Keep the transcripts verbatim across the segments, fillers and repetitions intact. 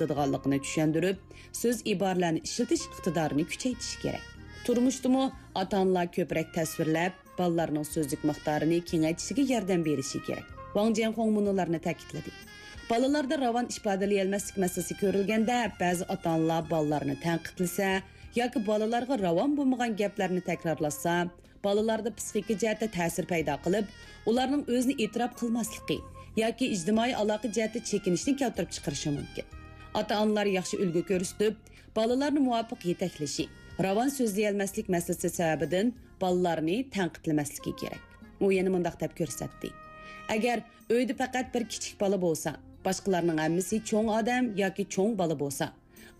قىلىدىغانلىقىنى چۈشەندۈرۈپ، سۆز ئىبارىلەرنى ئىشلىتىش ئىقتىدارىنى كۈچەيتىشى كېرەك. تۇرمۇشتىمۇ ئاتا-ئانىلار كۆپرەك تەسۋىرلەپ، بالىلارنىڭ سۆزلۈك مىقدارىنى كېڭەيتىشىگە ياردەم بېرىشى كېرەك. ۋاڭ جيەنخۇڭ مۇنۇلارنى تەكىتلىدى: بالىلاردا راۋان ئىپادىلىيەلمەسلىك مەسىلىسى كۆرۈلگەندە، بەزى ئاتا-ئانىلار بالىلارنى تەنقىدلىسە ياكى بالىلارغا راۋان بولمىغان گەپلەرنى تەكرارلاتسا، بالىلاردا پىسخىكا جەھەتتە تەسىر پەيدا قىلىپ، ئۇلارنىڭ ئۆزىنى ئېتىراپ قىلماسلىقى ياكى ئىجتىمائىي ئالاقە جەھەتتە چېكىنىشنى كەلتۈرۈپ چىقىرىشى مۇمكىن. ئاتا-ئانىلار ياخشى ئۈلگە كۆرسىتىپ، بالىلارنى مۇۋاپىق يېتەكلىشى، راۋان سۆزلىيەلمەسلىك مەسىلىسى سەۋەبىدىن بالىلارنى تەنقىدلىمەسلىكى كېرەك. ئۇ يەنە مۇنداق دەپ كۆرسەتتى: ئەگەر ئۆيدە پەقەت بىر كىچىك بالا بولسا، باشقىلارنىڭ ھەممىسى چوڭ ئادەم ياكى چوڭ بالا بولسا،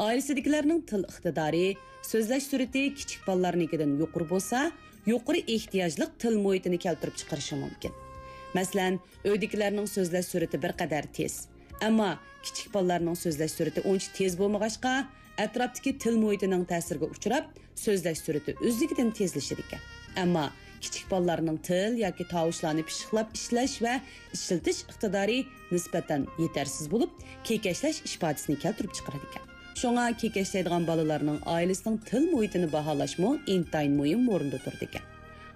ئائىلىسىدىكىلەرنىڭ تىل ئىقتىدارى، سۆزلەش سۈرئىتى كىچىك بالىلارنىڭكىدىن يۇقىرى بولسا، يۇقىرى ئېھتىياجلىق تىل مۇھىتىنى كەلتۈرۈپ چىقىرىشى مۇمكىن. مەسىلەن، ئۆيدىكىلەرنىڭ سۆزلەش سۈرئىتى بىر قەدەر تېز، ئەمما كىچىك بالىلارنىڭ سۆزلەش سۈرئىتى ئۇنچە تېز بولمىغاچقا، ئەتراپتىكى تىل مۇھىتىنىڭ تەسىرىگە ئۇچراپ، سۆزلەش سۈرئىتى ئۆزلۈكىدىن تېزلىشىدىكەن. ئەمما كىچىك بالىلارنىڭ تىل ياكى تاۋۇشلارنى پىششىقلاپ ئىشلەش ۋە ئىشلىتىش ئىقتىدارى نىسبەتەن يېتەرسىز بولۇپ، كېكەچلەش ئىپادىسىنى كەلتۈرۈپ چىقىرىدىكەن. شۇڭا كېكەچلەيدىغان بالىلارنىڭ ئائىلىسىنىڭ تىل مۇھىتىنى باھالاشمۇ ئىنتايىن مۇھىم ئورۇندا تۇرىدىكەن.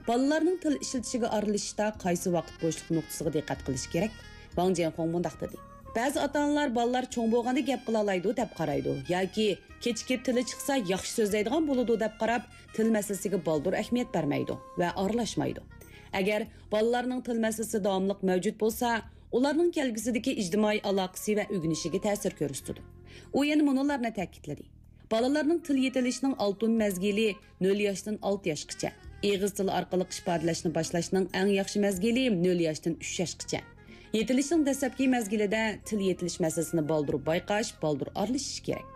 بالىلارنىڭ تىل ئىشلىتىشىگە ئارىلىشىشتا قايسى ۋاقىت بوشلۇق نۇقتىسىغا دىققەت قىلىش كېرەك؟ ۋاڭ جيەنخۇڭ مۇنداق دېدى: بەزى ئاتا-ئانىلار بالىلار چوڭ بولغاندا گەپ قىلالايدۇ دەپ قارايدۇ ياكى كېچىكىپ تىلى چىقسا ياخشى سۆزلەيدىغان بولىدۇ دەپ قاراپ، تىل مەسىلىسىگە بالدۇر ئەھمىيەت بەرمەيدۇ ۋە ئارىلاشمايدۇ. ئەگەر بالىلارنىڭ تىل مەسىلىسى داۋاملىق مەۋجۇت بولسا، ئۇلارنىڭ كەلگۈسىدىكى ئىجتىمائىي ئالاقىسى ۋە ئۆگىنىشىگە تەسىر كۆرسىتىدۇ. ئۇ يەنە مۇنۇلارنى تەكىتلىدى: بالىلارنىڭ تىل يېتىلىشىنىڭ ئالتۇن مەزگىلى نۆل ياشتىن ئالتە ياشقىچە، ئېغىز تىلى ئارقىلىق ئىپادىلەشنى باشلاشنىڭ ئەڭ ياخشى مەزگىلى نۆل ياشتىن ئۈچ ياشقىچە. يېتىلىشنىڭ دەسلەپكى مەزگىلىدە تىل يېتىلىش مەسىلىسىنى بالدۇر بايقاش، بالدۇر ئارىلىشىش كېرەك.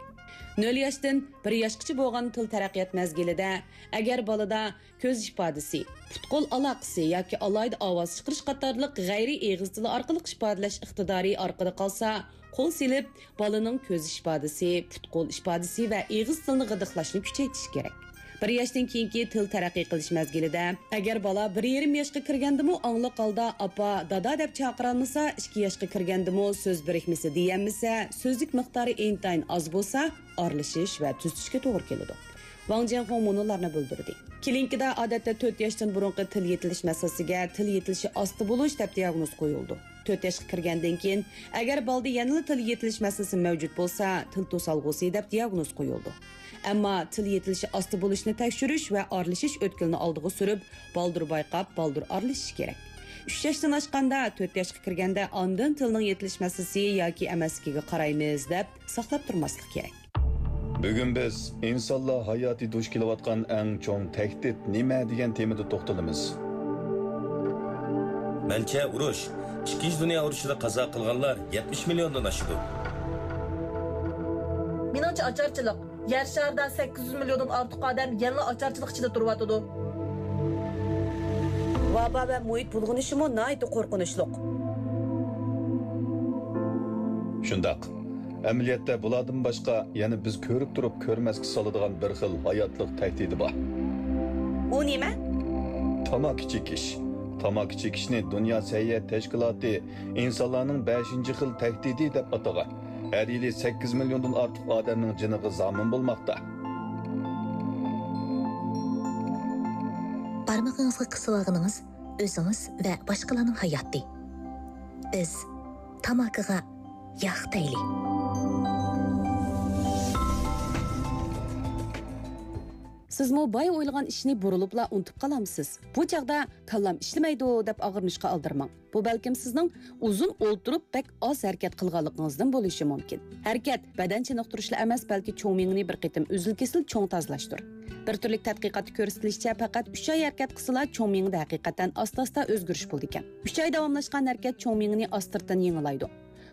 نۆل ياشتىن بىر ياشقىچە بولغان تىل تەرەققىيات مەزگىلىدە، ئەگەر بالىدا كۆز ئىپادىسى، پۇت-قول ئالاقىسى ياكى ئالاھىدە ئاۋاز چىقىرىش قاتارلىق غەيرىي ئېغىز تىلى ئارقىلىق ئىپادىلەش ئىقتىدارى ئارقىدا قالسا، قول سېلىپ، بالىنىڭ كۆز ئىپادىسى، پۇت-قول ئىپادىسى ۋە ئېغىز تىلىنى غىدىقلاشنى كۈچەيتىش كېرەك. بىر ياشتىن كېيىنكى تىل تەرەققىي قىلىش مەزگىلىدە، ئەگەر بالا بىر يېرىم ياشقا كىرگەندىمۇ ئاڭلىق ھالدا «ئاپا، دادا» دەپ چاقىرالمىسا، ئىككى ياشقا كىرگەندىمۇ سۆز بىرىكمىسى دېيەلمىسە، سۆزلۈك مىقدارى ئىنتايىن ئاز بولسا، ئارىلىشىش ۋە تۈزىتىشكە توغرا كېلىدۇ. ۋاڭ جيەنخۇڭ مۇنۇلارنى بىلدۈردى: كلىنىكىدا ئادەتتە تۆت ياشتىن بۇرۇنقى تىل يېتىلىش مەسىلىسىگە تىل يېتىلىشى ئاستا بولۇش دەپ دىياگنوز قويۇلىدۇ. تۆت ياشقا كىرگەندىن كېيىن، ئەگەر بالىدا يەنىلا تىل يېتىلىش مەسىلىسى مەۋجۇت بولسا، تىل توسالغۇسى دەپ دىياگنوز قويۇلىدۇ. ئەمما تىل يېتىلىشى ئاستا بولۇشنى تەكشۈرۈش ۋە ئارىلىشىش ئۆتكىلىنى ئالدىغا سۈرۈپ، بالدۇر بايقاپ، بالدۇر ئارىلىشىش كېرەك. ئۈچ ياشتىن ئاشقاندا، تۆت ياشقا كىرگەندە ئاندىن تىلنىڭ يېتىلىش مەسىلىسى ياكى ئەمەسلىكىگە قارايمىز دەپ ساقلاپ تۇرماسلىق كېرەك. بۈگۈن بىز ئىنسانلار ھاياتى دۇچ كېلىۋاتقان ئەڭ چوڭ تەھدىت نېمە دېگەن تېمىدا توختىلىمىز. مەنچە، ئۇرۇش، ئىككىنچى دۇنيا ئۇرۇشىدا قازا قىلغانلار يەتمىش مىليوندىن ئاشىدۇ. مېنىڭچە، ئاچارچىلىق. يەر شارىدا سەككىز يۈز مىليوندىن ئارتۇق ئادەم يەنىلا ئاچارچىلىق ئىچىدە تۇرۇۋاتىدۇ. ۋابا ۋە مۇھىت بۇلغىنىشىمۇ ناھايىتى قورقۇنچلۇق. شۇنداق. ئەمەلىيەتتە بۇلاردىن باشقا يەنە بىز كۆرۈپ تۇرۇپ كۆرمەسكە سالىدىغان بىر خىل ھاياتلىق تەھدىتى بار. ئۇ نېمە؟ تاماكا چېكىش. تاماكا چېكىشنى دۇنيا سەھىيە تەشكىلاتى ئىنسانلارنىڭ بەشىنچى خىل تەھدىتى دەپ ئاتىغان. ھەر يىلى سەككىز مىليوندىن ئارتۇق ئادەمنىڭ جېنىغا زامىن بولماقتا. بارمىقىڭىزغا قىسىۋالغىنىڭىز ئۆزىڭىز ۋە باشقىلارنىڭ ھاياتى. بىز تاماكىغا ياق دەيلى. سىزمۇ بايا ئويلىغان ئىشنى بۇرۇلۇپلا ئۇنتۇپ قالامسىز؟ بۇ چاغدا «كاللام ئىشلىمەيدۇ» دەپ ئاغرىنىشقا ئالدىرىماڭ. بۇ بەلكىم سىزنىڭ ئۇزۇن ئولتۇرۇپ بەك ئاز ھەرىكەت قىلغانلىقىڭىزدىن بولۇشى مۇمكىن. ھەرىكەت بەدەن چېنىقتۇرۇشلا ئەمەس، بەلكى چوڭ مېڭىنى بىر قېتىم ئۈزۈل-كېسىل چوڭ تازىلاشتۇر. بىر تۈرلۈك تەتقىقاتتا كۆرسىتىلىشىچە، پەقەت ئۈچ ئاي ھەرىكەت قىلسىلا، چوڭ مېڭىدە ھەقىقەتەن ئاستا-ئاستا ئۆزگىرىش بولىدىكەن. ئۈچ ئاي داۋاملاشقان ھەرىكەت چوڭ مېڭىنى ئاستىرتىن يېڭىلايدۇ.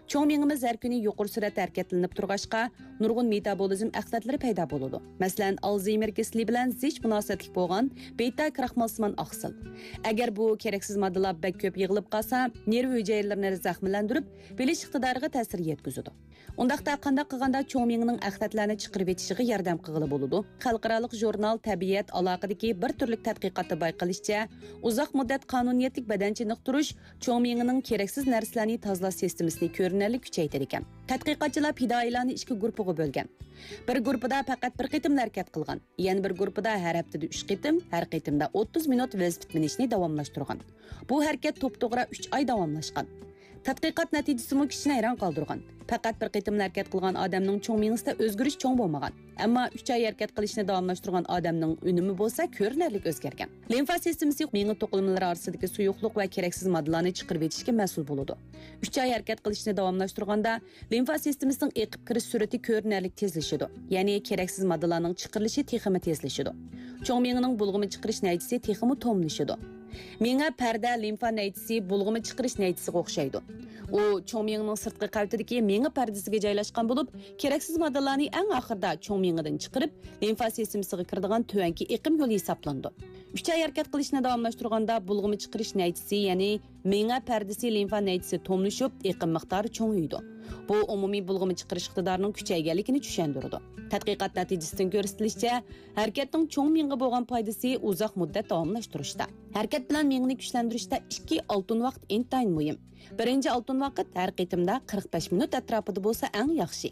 چوڭ مېڭىمىز ھەر كۈنى يۇقىرى سۈرئەتتە ھەرىكەتلىنىپ تۇرغاچقا، نۇرغۇن مېتابولىزم ئەخلەتلىرى پەيدا بولىدۇ. مەسىلەن، ئالزېيمېر كېسىلى بىلەن زىچ مۇناسىۋەتلىك بولغان بېتا كراخمالسىمان ئاقسىل. ئەگەر بۇ كېرەكسىز ماددىلار بەك كۆپ يىغىلىپ قالسا، نېرۋا ھۈجەيرىلىرىنى زەخىملەندۈرۈپ، بىلىش ئىقتىدارىغا تەسىر يەتكۈزىدۇ. ئۇنداقتا قانداق قىلغاندا چوڭ مېڭىنىڭ ئەخلەتلەرنى چىقىرىۋېتىشىغا ياردەم قىلغىلى بولىدۇ؟ خەلقئارالىق ژۇرنال تەبىئەت ئالاقىدىكى بىر تۈرلۈك تەتقىقاتتا بايقىلىشىچە، ئۇزاق مۇددەت قانۇنىيەتلىك بەدەن چېنىقتۇرۇش چوڭ مېڭىنىڭ كېرەكسىز نەرسىلەرنى تازىلاش سىستېمىسىنى كۆر كۆرۈنەرلىك كۈچەيتىدىكەن. تەتقىقاتچىلار پىدائىيلارنى ئىككى گۇرۇپپىغا بۆلگەن. بىر گۇرۇپپىدا پەقەت بىر قېتىملا ھەرىكەت قىلغان، يەنە بىر گۇرۇپپىدا ھەر ھەپتىدە ئۈچ قېتىم، ھەر قېتىمدا ئوتتۇز مىنۇت ۋېلىسىپىت مىنىشنى داۋاملاشتۇرغان. بۇ ھەرىكەت توپتوغرا ئۈچ ئاي داۋاملاشقان. تەتقىقات نەتىجىسىمۇ كىشىنى ھەيران قالدۇرغان. پەقەت بىر قېتىملا ھەرىكەت قىلغان ئادەمنىڭ چوڭ مېڭىسىدە ئۆزگىرىش چوڭ بولمىغان. ئەمما ئۈچ ئاي ھەرىكەت قىلىشنى داۋاملاشتۇرغان ئادەمنىڭ ئۈنۈمى بولسا كۆرۈنەرلىك ئۆزگەرگەن. لىمفا سىستېمىسى مېڭە توقۇلمىلىرى ئارىسىدىكى سۇيۇقلۇق ۋە كېرەكسىز ماددىلارنى چىقىرىۋېتىشكە مەسئۇل بولىدۇ. ئۈچ ئاي ھەرىكەت قىلىشنى داۋاملاشتۇرغاندا، لىمفا سىستېمىسىنىڭ ئېقىپ كىرىش سۈرئىتى كۆرۈنەرلىك تېزلىشىدۇ، يەنى كېرەكسىز ماددىلارنىڭ چىقىرىلىشى تېخىمۇ تېزلىشىدۇ. چوڭ مېڭىنىڭ بۇلغىما چىقىرىش نەيچىسى تېخىمۇ توملىشىدۇ. مېڭە پەردە لىمفا نەيچىسى بۇلغىما چىقىرىش نەيچىسىگە ئوخشايدۇ. ئۇ چوڭ مېڭىنىڭ سىرتقى قەۋىتىدىكى مېڭە پەردىسىگە جايلاشقان بولۇپ، كېرەكسىز ماددىلارنى ئەڭ ئاخىرىدا چوڭ مېڭىدىن چىقىرىپ، لىمفا سىستېمىسىغا كىرىدىغان تۆۋەنكى ئېقىم يولى ھېسابلىنىدۇ. ئۈچ ئاي ھەرىكەت قىلىشنى داۋاملاشتۇرغاندا بۇلغىما چىقىرىش نەيچىسى، يەنى مېڭە پەردىسى لىمفا نەيچىسى توملىشىپ، ئېقىم مىقدارى چوڭىيىدۇ. بۇ ئومۇمىي بۇلغىما چىقىرىش ئىقتىدارىنىڭ كۈچەيگەنلىكىنى چۈشەندۈرىدۇ. تەتقىقات نەتىجىسىدىن كۆرسىتىلىشىچە، ھەرىكەتنىڭ چوڭ مېڭىگە بولغان پايدىسى ئۇزاق مۇددەت داۋاملاشتۇرۇشتا. ھەرىكەت بىلەن مېڭىنى كۈچلەندۈرۈشتە ئىككى ئالتۇن ۋاقىت ئىنتايىن مۇھىم. بىرىنچى ئالتۇن ۋاقىت ھەر قېتىمدا قىرىق بەش مىنۇت ئەتراپىدا بولسا ئەڭ ياخشى.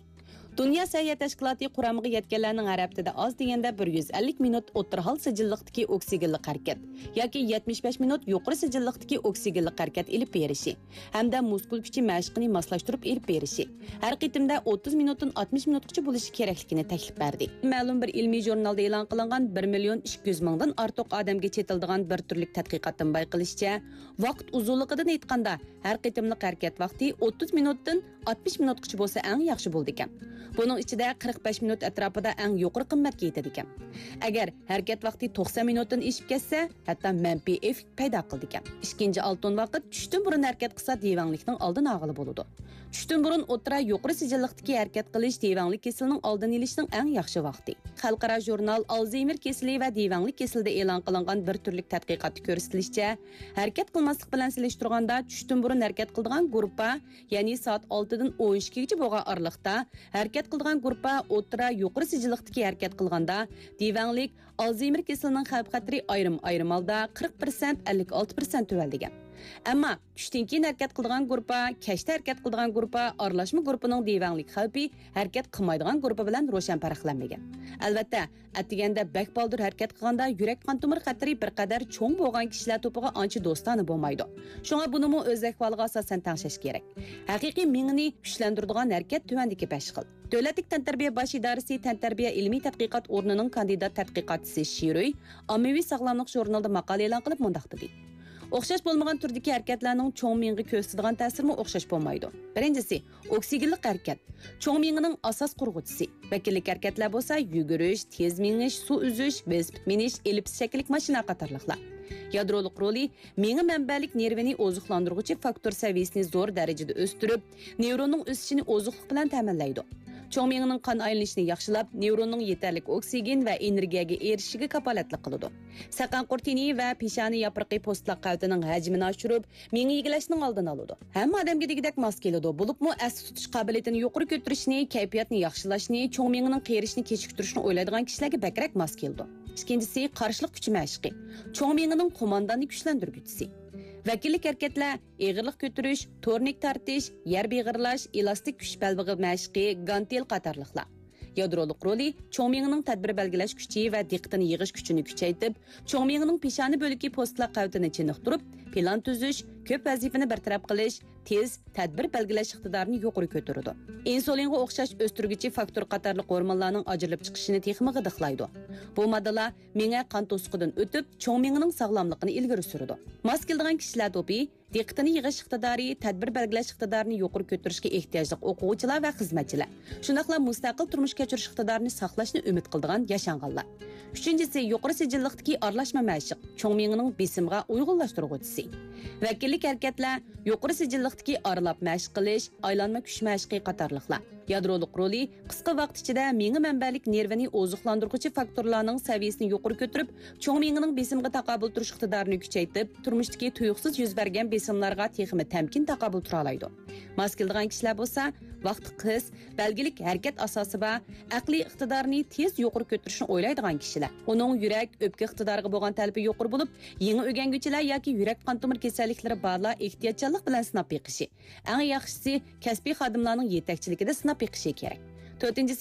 دۇنيا سەھىيە تەشكىلاتى قۇرامىغا يەتكەنلەرنىڭ ھەر ھەپتىدە ئاز دېگەندە بىر يۈز ئەللىك مىنۇت ئوتتۇرا ھال سىجىللىقتىكى ئوكسىگېنلىق ھەرىكەت ياكى يەتمىش بەش مىنۇت يۇقىرى سىجىللىقتىكى ئوكسىگېنلىق ھەرىكەت ئېلىپ بېرىشى ھەمدە مۇسكۇل كۈچى مەشقىنى ماسلاشتۇرۇپ ئېلىپ بېرىشى، ھەر قېتىمدا ئوتتۇز مىنۇتتىن ئاتمىش مىنۇتقىچە بولۇشى كېرەكلىكىنى تەكلىپ بەردى. مەلۇم بىر ئىلمىي ژۇرنالدا ئېلان قىلىنغان بىر مىليون ئىككى يۈز مىڭدىن ئارتۇق ئادەمگە چېتىلىدىغان بىر تۈرلۈك تەتقىقاتتىن بايقىلىشىچە، ۋاقىت ئۇزۇنلۇقىدىن ئېيتقاندا، ھەر قېتىملىق ھەرىكەت ۋاقتى ئوتتۇز مىنۇتتىن ئاتمىش مىنۇتقىچە بولسا ئەڭ ياخشى بولىدىكەن. بۇنىڭ ئىچىدە قىرىق بەش مىنۇت ئەتراپىدا ئەڭ يۇقىرى قىممەتكە يېتىدىكەن. ئەگەر ھەرىكەت ۋاقتى توقسان مىنۇتتىن ئېشىپ كەتسە، ھەتتا مەنپىي ئېففېكت پەيدا قىلىدىكەن. ئىككىنچى ئالتۇن ۋاقىت چۈشتىن بۇرۇن ھەرىكەت قىلسا دېۋەڭلىكنىڭ ئالدىنى ئالغىلى بولىدۇ. چۈشتىن بۇرۇن ئوتتۇرا يۇقىرى سىجىللىقتىكى ھەرىكەت قىلىش دېۋەڭلىك كېسىلىنىڭ ئالدىنى ئېلىشنىڭ ئەڭ ياخشى ۋاقتى. خەلقئارا ژۇرنال ئالزېيمېر كېسىلى ۋە دېۋەڭلىك كېسىلىدە ئېلان قىلىنغان بىر تۈرلۈك تەتقىقاتتا كۆرسىتىلىشىچە، ھەرىكەت قىلماسلىق بىلەن سېلىشتۇرغاندا چۈشتىن بۇرۇن ھەرىكەت قىلىدىغان گۇرۇپپا، يەنى سائەت ئالتىدىن ئون ئىككىگىچە بولغان ئارىلىقتا ھەرىكەت قىلىدىغان گۇرۇپپا ئوتتۇرا يۇقىرى سىجىللىقتىكى ھەرىكەت قىلغاندا دېۋەڭلىك، ئالزېيمېر كېسىلىنىڭ خەۋپ خەتىرى ئايرىم-ئايرىم ھالدا قىرىق پىرسەنت، ئەللىك ئالتە پىرسەنت تۆۋەنلىگەن. ئەمما چۈشتىن كېيىن ھەرىكەت قىلىدىغان گۇرۇپپا، كەچتە ھەرىكەت قىلىدىغان گۇرۇپپا، ئارىلاشما گۇرۇپپىنىڭ دېۋەڭلىك خەۋپى ھەرىكەت قىلمايدىغان گۇرۇپپا بىلەن روشەن پەرقلەنمىگەن. ئەلۋەتتە، ئەتىگەندە بەك بالدۇر ھەرىكەت قىلغاندا يۈرەك قان تومۇر خەتىرى بىر قەدەر چوڭ بولغان كىشىلەر توپىغا ئانچە دوستانە بولمايدۇ. شۇڭا بۇنىمۇ ئۆز ئەھۋالىغا ئاساسەن تەڭشەش كېرەك. ھەقىقىي مېڭىنى كۈچلەندۈرىدىغان ھەرىكەت تۆۋەندىكى بەش خىل. دۆلەتلىك تەنتەربىيە باش ئىدارىسى تەنتەربىيە ئىلمىي تەتقىقات ئورنىنىڭ كاندىدات تەتقىقاتچىسى شىروي ئاممىۋى ساغلاملىق ژۇرنىلىدا ماقالە ئېلان قىلىپ مۇنداق دېدى: ئوخشاش بولمىغان تۈردىكى ھەرىكەتلەرنىڭ چوڭ مېڭىگە كۆرسىتىدىغان تەسىرىمۇ ئوخشاش بولمايدۇ. بىرىنچىسى، ئوكسىگېنلىق ھەرىكەت، چوڭ مېڭىنىڭ ئاساس قۇرغۇچىسى. ۋەكىللىك ھەرىكەتلەر بولسا يۈگۈرۈش، تېز مېڭىش، سۇ ئۈزۈش، ۋېلىسىپىت مىنىش، ئېلىپىس شەكىللىك ماشىنا قاتارلىقلار. يادرولۇق رولى، مېڭە مەنبەلىك نېرۋىنى ئوزۇقلاندۇرغۇچى فاكتور سەۋىيىسىنى زور دەرىجىدە ئۆستۈرۈپ، نېۋروننىڭ ئۆسۈشىنى ئوزۇقلۇق بىلەن تەمىنلەيدۇ. چوڭ مېڭىنىڭ قان ئايلىنىشىنى ياخشىلاپ، نېۋروننىڭ يېتەرلىك ئوكسىگېن ۋە ئېنېرگىيەگە ئېرىشىشىگە كاپالەتلىك قىلىدۇ. سەقەن قۇرتىنى ۋە پېشانە ياپرىقى پوستلاق قەۋىتىنىڭ ھەجمىنى ئاشۇرۇپ، مېڭە ئىگىلەشنىڭ ئالدىنى ئالىدۇ. ھەممە ئادەمگە دېگۈدەك ماس كېلىدۇ، بولۇپمۇ ئەستە تۇتۇش قابىلىيىتىنى يۇقىرى كۆتۈرۈشنى، كەيپىياتنى ياخشىلاشنى، چوڭ مېڭىنىڭ قېرىشىنى كېچىكتۈرۈشنى ئويلايدىغان كىشىلەرگە بەكرەك ماس كېلىدۇ. ئىككىنچىسى، قارشىلىق كۈچى مەشقى. چوڭ مېڭىنىڭ قومانداننى كۈچلەندۈرگۈچىسى. ۋەكىللىك ھەرىكەتلەر، ئېغىرلىق كۆتۈرۈش، تورنىك تارتىش، يەر بېغىرلاش، ئېلاستىك كۈچ بەلبېغى مەشقى، گانتېل قاتارلىقلار. يادرولۇق رولى، چوڭ مېڭىنىڭ تەدبىر بەلگىلەش كۈچى ۋە دىققىتىنى يىغىش كۈچىنى كۈچەيتىپ، چوڭ مېڭىنىڭ پېشانە بۆلىكى پوستلاق قەۋىتىنى چېنىقتۇرۇپ، پىلان تۈزۈش، كۆپ ۋەزىپىنى بىر تەرەپ قىلىش، تېز تەدبىر بەلگىلەش ئىقتىدارىنى يۇقىرى كۆتۈرىدۇ. ئىنسۇلىنغا ئوخشاش ئۆستۈرگۈچى فاكتور قاتارلىق ھورمونلارنىڭ ئاجرىلىپ چىقىشىنى تېخىمۇ غىدىقلايدۇ. بۇ ماددىلار مېڭە قان توسۇقىدىن ئۆتۈپ، چوڭ مېڭىنىڭ ساغلاملىقىنى ئىلگىرى سۈرىدۇ. ماس كېلىدىغان كىشىلەر توپى، دىققىتىنى يىغىش ئىقتىدارى، تەدبىر بەلگىلەش ئىقتىدارىنى يۇقىرى كۆتۈرۈشكە ئېھتىياجلىق ئوقۇغۇچىلار ۋە خىزمەتچىلەر، شۇنداقلا مۇستەقىل تۇرمۇش كەچۈرۈش ئىقتىدارىنى ساقلاشنى ئۈمىد قىلىدىغان ياشانغانلار. ئۈچىنچىسى، يۇقىرى سىجىللىقتىكى ئارىلاشما مەشىق، چوڭ مېڭىنىڭ بېسىمغا ئۇيغۇنلاشتۇرغۇچىسى. ۋەكىللىك ھەرىكەتلەر، يۇقىرى سىجىللىقتىكى ئارىلاپ مەشىق قىلىش، ئايلانما كۈچ مەشىقى قاتارلىقلار. يادرولۇق رولى قىسقا ۋاقىت ئىچىدە مېڭە مەنبەلىك نېرۋىنى ئوزۇقلاندۇرغۇچى فاكتورلارنىڭ سەۋىيەسىنى يۇقىرى كۆتۈرۈپ، چوڭ مېڭىنىڭ بېسىمغا تاقابىل تۇرۇش ئىقتىدارىنى كۈچەيتىپ، تۇرمۇشتىكى تۇيۇقسىز يۈز بەرگەن بېسىملارغا تېخىمۇ تەمكىن تاقابىل تۇرالايدۇ. ماس كېلىدىغان كىشىلەر بولسا، ۋاقتى قىس، بەلگىلىك ھەرىكەت ئاساسى بار، ئەقلىي ئىقتىدارىنى تېز يۇقىرى كۆتۈرۈشنى ئويلايدىغان كىشىلەر. ئۇنىڭ يۈرەك، ئۆپكە ئىقتىدارىغا بولغان تەلىپى يۇقىرى بولۇپ، يېڭى ئۆگەنگۈچىلەر ياكى يۈرەك قان تومۇر كېسەللىكلىرى بارلار ئېھتىياتچانلىق بىلەن سىناپ بېقىشى. ئەڭ ياخشىسى، كەسپىي خادىملارنىڭ يېتەكچىلىكىدە سىناپ بېقىشى كېرەك. تۆتىنچىسى،